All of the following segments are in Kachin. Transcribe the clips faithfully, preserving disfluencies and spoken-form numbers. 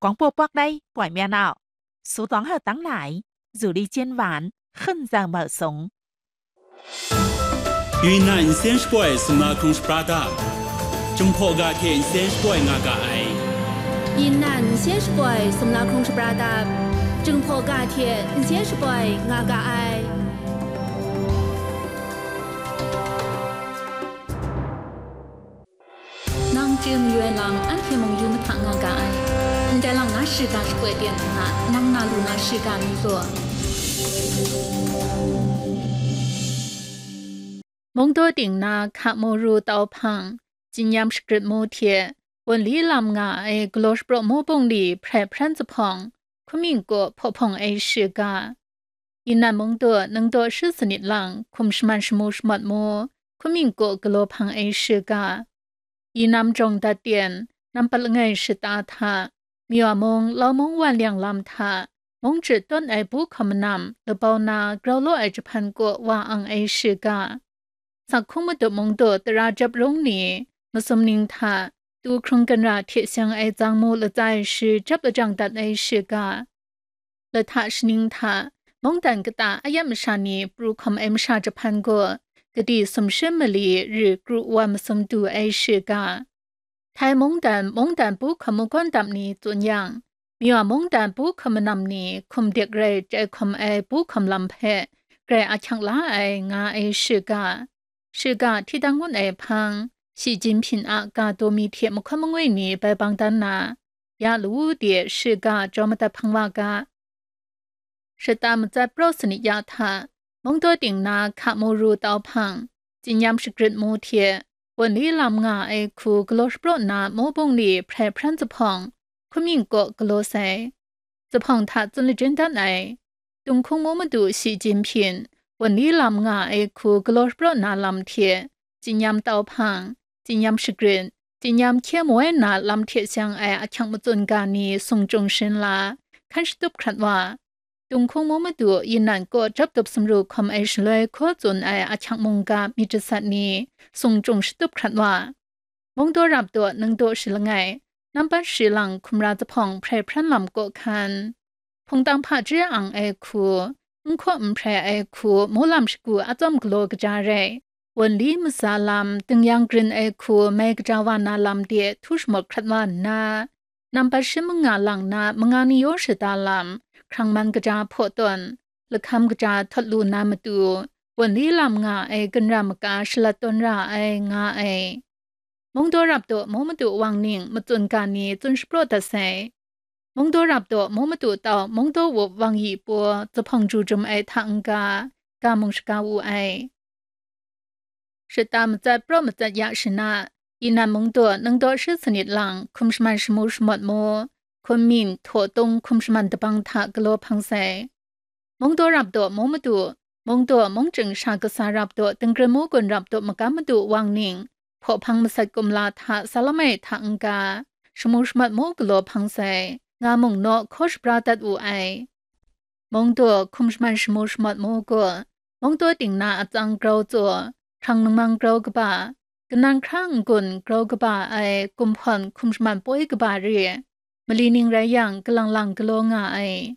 广播 bawk dai poi mya nau, su tawng hau tang lai, zu li jen wan, hkun zau mau sung. 云南 nsen shapoi sumla hkrung shapra dap, Jinghpaw ga hte nsen shapoi nga ga ai. 云南 nsen shapoi sumla hkrung shapra dap, Jinghpaw ga hte nsen shapoi nga ga ai. Nang chye mayu ai lam anhte mung yu mahta nga ga ai. Ndai lang na shiga shapoi ten hta, nang na lu na shiga mi gaw. Mungdaw ting na hka muru tau hpang, tsinyam shagrit mu hte, wunli lam nga ai galaw shapraw mu bungli hprai hpran zuphpawng, hkumying kaw hpaw hpawng ai shiga. Yinan mungdaw ningdaw shi sanit lang hkum shaman shamu shamawt mu, hkumying kaw galaw hpang ai shiga. Yinam jawng dat ten, nampat langai shata hta, Myaw mung, Lau mung wan liang lam hta, mung chyu tawn ai bu hkawm manam, labau na grau law ai jahpan kaw wa ang ai shiga. Sak hkung matup mungdaw tara jap rung ni, masum ning hta, tu hkrung ganra hte seng ai zang mu latsa ai shi jap lajang dat ai shiga. Lahta shaning hta, mungdan kata a yam masha ni pru hkawm ai masha jahpan gaw, gadi sumshi mali ri kru wa masum du ai shiga. Htai mungdan, mungdan bu hkawm makawn dam ni tsun yang, Myaw mungdan bu hkawm manam ni hkum dik rai chyai hkawm ai bu hkawm lam hpe grai ahkyak la ai nga ai shiga. Shiga hti dang ngun ai hpang, Shi Jinhping a ga daw mi hte mahkawn mangwi ni bai bang dan na, ya lawu de shiga jaw madat hpang wa ga. Shata matsat praw sanit ya hta, mungdaw ting na hka mu ru tau hpang, tsinyam shagrit mu hte, wunli lam nga ai hku galaw shapraw na mu bungli hprai hpran zuphpawng, hkumying kaw galaw sai. Zuphpawng hta tsun lajin dan ai. Tung hkung mu madu Shi Jinhping, wunli lam nga ai hku galaw shapraw na lam hte, tsinyam tau hpang, tsinyam shagrin, tsinyam hkye moi na lam hte seng ai ahkyak matsun ga ni sung chyung shin la, hkan shatup hkrat wa. Tung hkung mu madu Yinan kaw jap dup sumru hkawm ai shaloi hkaw tsun ai ahkyak mungga myit jasat ni sung chyung shatup hkrat wa. Mungdaw rap daw ningdaw shi langai, nampat shi lang hkumra zuphpawng hprai hpran lam kaw hkan. Hpungtang hpaji ang ai hku, n hkaw n hprai ai hku, mung lam shagu a tsawm galaw kaja rai, wunli matsa lam, dingyang grin ai hku, mai kaja wa na lam de htu shamawt hkrat wa nna, nampat shi manga lang na manga ni yaw shada lam, hkrang man kaja hpaw tawn, lahkam kaja htawt lu na matu, wunli lam nga ai ganra maka shalat tawn ra ai nga ai. Mungdaw rap daw mu madu wang ning matsun ga ni tsun shapraw dat sai. Mungdaw rap daw mu madu tau mungdaw wup wang yi paw zuphpawng ju jum ai hta n-ga, ga mung shaga wu ai. Shata matsat praw matsat ya shana, Yinan mungdaw ningdaw shi sanit lang hkum shaman shamu shamawt mu, hkum min, htaw tung hkum shaman dabang hta galaw hpang sai. Mungdaw rap daw mu madu, mungdaw mung chying sha kasa rap daw, dingrin mu gun rap daw magam madu wang ning, hpaw hpang masat kumla hta sa lam ai hta n-ga, shamu shamat mu galaw hpang sai, nga mung naw hkaw shabra dat wu ai. Mungdaw hkum shaman shamu shamat mu gaw, mungdaw ting na atsang grau tsaw, hkrang ningmang grau kaba, kanan hkra n-gun grau kaba ai, gumhpawn hkum shaman poi kaba re, mali ning rai yang, kalang lang galaw nga ai.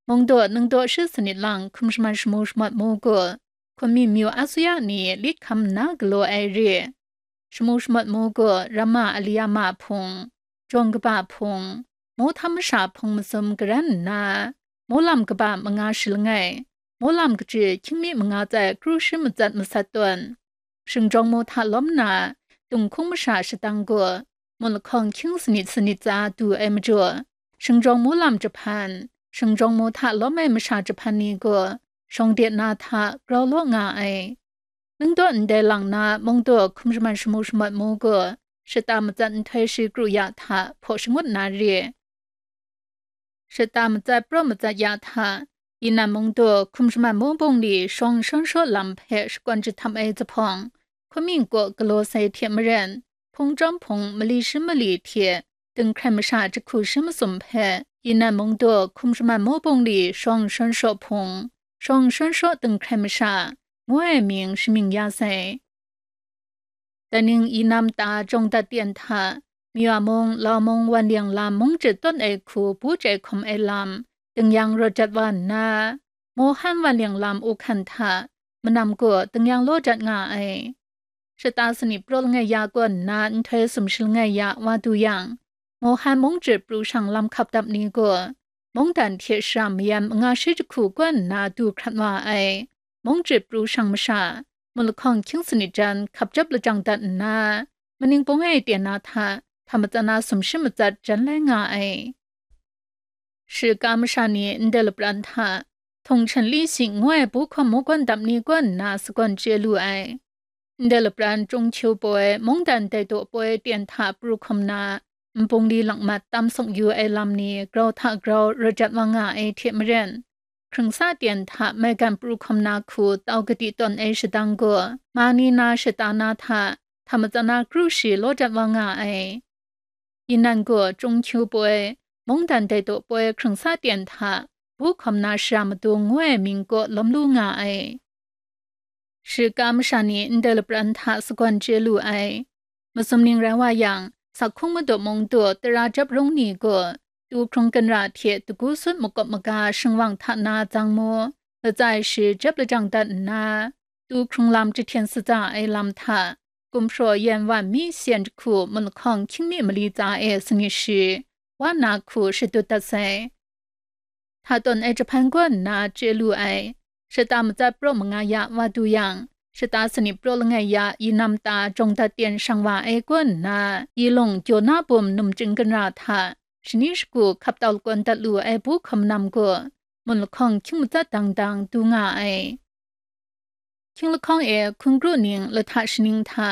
Mungdaw ningdaw shi sanit lang hkum shaman shamu shamat mu gaw, hkum mi myu a suya ni lit hkam nna galaw ai re. Shamu shamat mu gaw, ramma a li ya ma hpung, jawng kaba hpung, mu htam masha hpung masum garan nna, mu lam kaba manga shi langai, mu lam kachyi hkying mi manga tsai kru shi matsat masat tawn, shingjawng mu hta lawm na, tung hkung masha shadang gaw, mut lahkawng hkying sanit sanit tsa du ai majaw, shingjawng mu lam jahpan, shingjawng mu hta lawm ai masha jahpan ni gaw, shawng de na hta grau law nga ai. Ningdaw ndai lang na mungdaw hkum shaman shamu shamat mu gaw, shata matsat nhtoi shi kru ya hta hpaw shangut na re. Shata matsat praw matsat ya hta, inan mungdaw hkum shaman mu bungli shawng shawn shaw lam hpe shakawn jahtam ai jahpawng, hkum yin kaw galaw sai hte maren, hpung chyawm hpung mali shi mali hte dinghkrai masha jahku shi masum hpe, inan mungdaw hkum shaman mu bungli shawng shawn shaw hpung, shawng shawn shaw dinghkrai masha, ngu ai mying shamying ya sai. Daning inam ta jawng dat yan hta, Myaw mung, Lau mung, wan leng lam mung jit tawn ai hku bu chyai hkawm ai lam, tingyan rawt jat wa nna, Mohan wan leng lam u hkan hta, manam gaw tingyan law jat nga ai. Shata sanit praw langai ya kaw nna nhtoi sumshi langai ya wa du yang, Mohan mung jit pru shang lam hkap dap ni gaw, mungdan hte shara mayam manga shi jahku kaw nna du hkrat wa ai. Mung jit pru shang masha, mut lahkawng hkying sanit jan hkap jap lajang dat nna, maning pawng e ten na hta, hta matsan na sumshi matsat jan lai nga ai. Shika masha ni ndai lapran hta, Htawng Hkyen Li Shing ngu ai bu hkawm mungkan dap ni kaw nna sagawn chye lu ai. Ndai lapran Chyung Kyu poi, mungdan dai daw poi ten hta pru hkawm na, nbung li lakmat tam sawk yu ai lam ni grau hta grau rawt jat wa nga ai hte maren, hkrung sa ten hta maigan pru hkawm na hku tau kadi tawn ai shadang gaw, ma ni na shata na hta, hta matsan na kru shi law jat wa nga ai. Yinan gaw Chyung Kyu poi, mungdan dai daw poi hkrung sa ten hta, bu hkawm na shara madung ngu ai mying kaw lawm lu nga ai. Shika masha ni ndai lapran hta sagawn chye lu ai. Masum ning rai wa yang, sakhung madaw mung daw tara jap rung ni gaw, tu hkrung ginra hte dagu sut makawp maga shingwang hta na zang mu, latsai shi jap lajang dat nna, tu hkrung lam jahten satsa ai lam hta, gumhpraw yan wan mi syen jahku mut lahkawng hkying mi mali tsa e sanit shi, wa na hku shadut dat sai. Hta tawn ai jahpan gaw nna chye lu ai. Shata matsat praw manga ya wa du yang, shata sanit praw langai ya yinam ta jawng dat ten shang wa ai kaw nna, yi lung jaw na bum num chying ginra hta, shani shagu hkap tau lakawn dat lu ai bu hkawm nam gaw, mut lahkawng hkying matsat dang dang du nga ai. Hkying lahkawng e hkun kru ning lahta shaning hta,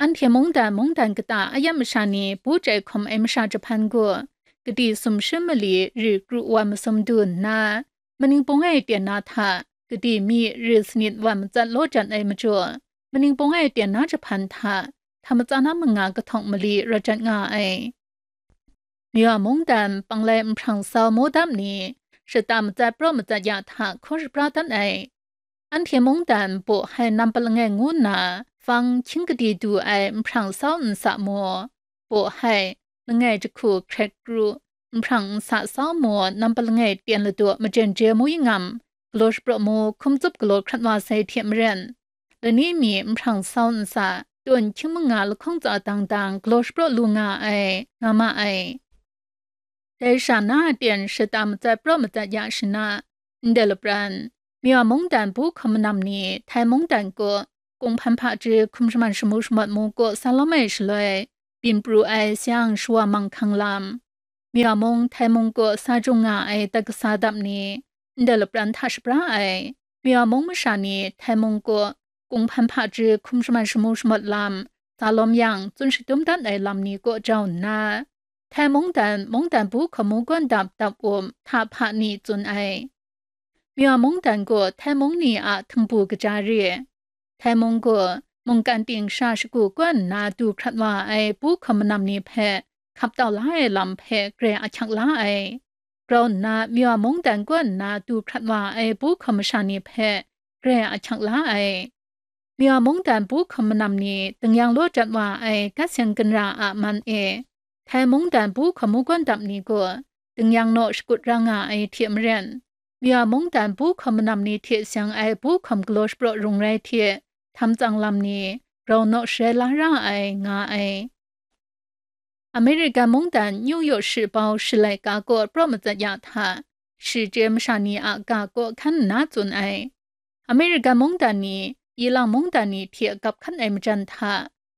anhte mungdan mungdan kata a yam masha ni bu chyai hkawm ai masha jahpan gaw, kadi sumshi mali ri kru wa masum du nna, maning pawng e ten na hta, kadi mi ri sanit wa matsat law jan ai majaw, maning pawng e ten na jahpan hta, hta matsan na manga kahtawng mali rawt jat nga ai. Myaw mungdan panglai nhprang sau mu dam ni, shata matsat praw matsat ya hta hkaw shapra dat ai. Anhte mungdan baw hai nampat langai ngu nna, fang hkying kadi du ai nhprang sau nsa mu, baw hai, langai jahku hkret kru, nhprang nsa sau mu, nampat langai ten ladaw majen je mu yingam, galaw shapraw mu, hkum tsup galaw hkrat wa sai hte maren, lani mi nhprang sau nsa, tawn hkying manga lahkawng tsa dang dang galaw shapraw lu nga ai, nga ma ai. Dai sha na a ten shata matsat praw matsat ya shana, ndai lapran, Myaw mungdan bu hkawm manam ni, Htai mungdan kaw, kunghpan hpaji hkum shaman shamu shamawt mu kaw sa lawm ai shaloi, byin pru ai sayang shawa manghkang lam, Myaw mung Htai mung kaw sa jung nga ai dat kasa dap ni, ndai lapran hta shapra ai, Myaw mung masha ni Htai mung kaw kunghpan hpaji hkum shaman shamu shamawt lam, sa lawm yang tsun shadum dat ai lam ni kaw jau nna, Htai mungdan, mungdan bu hkamu gawn dap dap um hta hpa ni tsun ai. Myaw mungdan gaw Htai mung ni a htingbu kaja re. Htai mung gaw mungkan ting sha shagu kaw nna du hkrat wa ai bu hkawm manam ni hpe hkap tau la ai lam hpe grai ahkyak la ai. Grau nna Myaw mungdan kaw nna du hkrat wa ai bu hkawm masha ni hpe grai ahkyak la ai. Myaw mungdan bu hkawm manam ni dingyang law jat wa ai gat seng ginra a man e, Htai mungdan bu hkamu gawn dap ni gaw dingyang naw shakut ra nga ai hte maren, Myaw mungdan bu hkawm manam ni hte seng ai bu hkawm galaw shapraw rung rai hte, htam tsang lam ni grau naw sharai la ra ai, nga ai. American mungdan New York shi bau shi laika kaw praw matsat ya hta, shi chye masha ni a ga kaw hkan nna tsun ai. American mungdan ni, ilang mungdan ni hte gap hkan ai majan hta,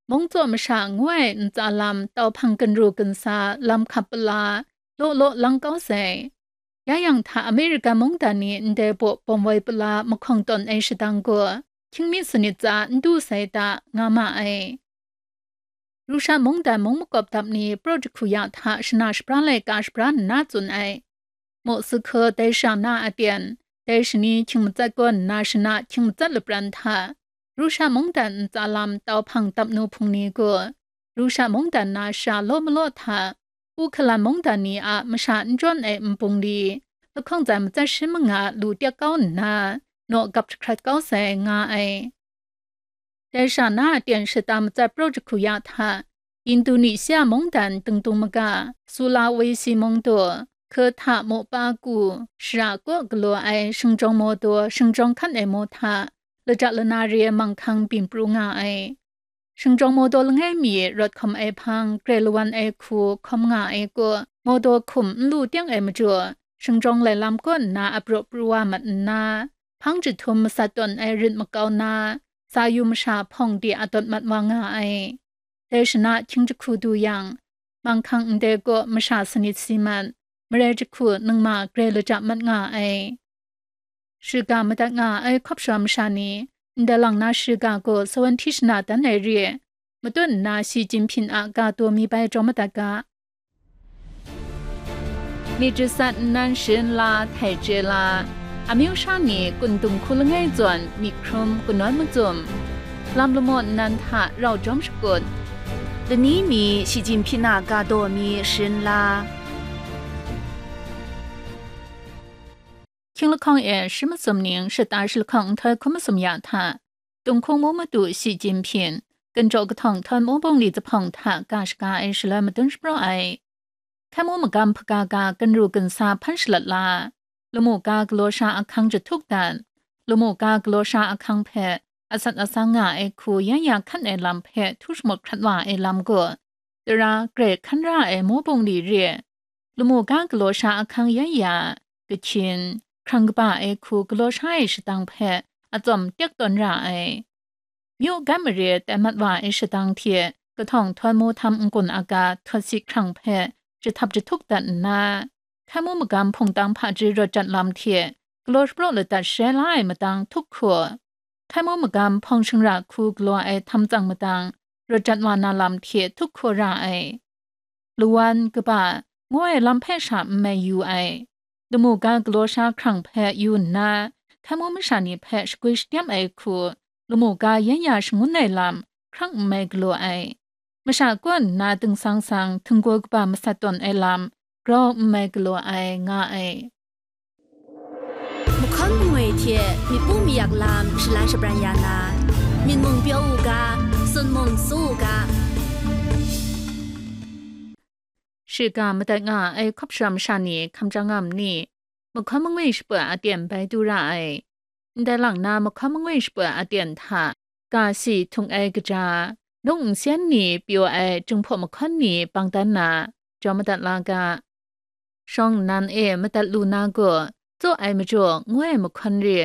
mung tsaw masha ngu ai ntsa lam tau hpang ginru ginsa lam hkap pala, law law lang kau sai. Ya yang hta American mungdan ni ndai baw bawm woi pala mahkawng tawn ai shadang gaw, hkying mi sanit tsa n du sai ta, nga ma ai. Rusha mungdan mung makawp dap ni praw jahku ya hta shana shapra laika shapra nna tsun ai. Moscow dai sha na a ten, dai shani hkying matsat kaw nna shana hkying matsat lapran hta, Rusha mungdan ntsa lam tau hpang dap nu hpung ni gaw, Rusha mungdan na sha law malaw hta, Ukhalan mungdan ni a masha n jawn ai nbung li, lahkawng tsan matsat shi manga lu tyak kau nna, naw gap jahkrat kau sai, nga ai. Dai sha na a ten shata matsat praw jahku ya hta, Indonesia mungdan dingdung maga, Sulawesi mungdaw, Keta Mopa ku, shara kaw galaw ai shingjawng mawdaw shingjawng hkan ai maw hta, laja lana re ai manghkang byin pru nga ai. Shingjawng mawdaw langai mi rawt hkawm ai hpang, grai lawan ai hku hkawm nga ai kaw, mawdaw hkum n lu teng ai majaw, shingjawng lai lam kaw nna apraw pru wa mat nna, hpang jahtum masat tawn ai rit makau na, sa yu masha hpawng de a dawt mat wa nga ai. Dai shana hkying jahku du yang, manghkang ndai kaw masha sanit si mat, marai jahku ningma grai laja mat nga ai. Shiga madat nga ai hkawp shawa masha ni, ndai lang na shiga gaw sawan hti shana dan ai re, matut nna Xi Jinping a ga daw mi bai jaw madat ga. Myit jasat nnan sharin la, htai chye la, amyu sha ni kun dung hku langai zawn myit hkrum kanawn macum, lam lamaw nnan hta rau jawm shakut, lani mi Xi Jinping a ga daw mi sharin la. Hkying lahkawng e shi masum ning shata shi lahkawng nhtoi hkum masum ya hta, Tunghkung mu madu Xi Jinping, Ganjaw kahtawng htawn mu bungli zahpawng hta ga shaga ai shaloi madun shapraw ai. Hkai mu magam hpaga ga ganru gansa hpan shalat la, lamu ga galaw sha ahkang jahtuk dat, lamu ga galaw sha ahkang hpe atsat atsang nga ai hku yan ya hkan ai lam hpe htu shamawt hkrat wa ai lam gaw, tara grai hkan ra ai mu bungli re, lamu ga galaw sha ahkang yan ya, kahkyin, hkrang kaba ai hku galaw sha ai shadang hpe atsawm tek tawn ra ai. Myu gan mare tai mat wa ai shadang hte kahtawng htawn mu htam n-gun aga htawt si hkrang hpe jahtap jahtuk dat nna, hkai mu magam hpungtang hpaji rawt jat lam hte galaw shapraw ladat sharai la ai madang htuk hku, hkai mu magam hpawng shingra hku galaw ai htam tsang madang rawt jat wa na lam hte htuk hku ra ai. Lawan, kaba, ngu ai lam hpe sha n mai yu ai. Lamu ga galaw sha hkrang hpe yu nna, hkai mu masha ni hpe shagwi shatyam ai hku, lamu ga yan ya shangun ai lam hkrang n mai galaw ai. Masha kaw nna dingsang sang htinggaw kaba masat tawn ai lam grau n mai galaw ai, nga ai. Mahkawn mangwi hte myit pu mayak lam shalan shabran ya na, myit mung pyaw u ga, sun mung su u ga. Shiga madat nga ai hkawp sharam sha ni hkam chyang nga ma ni? Mahkawn mangwi shaput a aten bai du ra ai. Ndai lang na mahkawn mangwi shaput a aten hta, ga si htung ai kaja, nung nsen ni pyaw ai Jinghpaw mahkawn ni bang dan na, jaw madat la ga. Shawng nnan e madat lu na gaw, tsaw ai majaw ngu ai mahkawn re,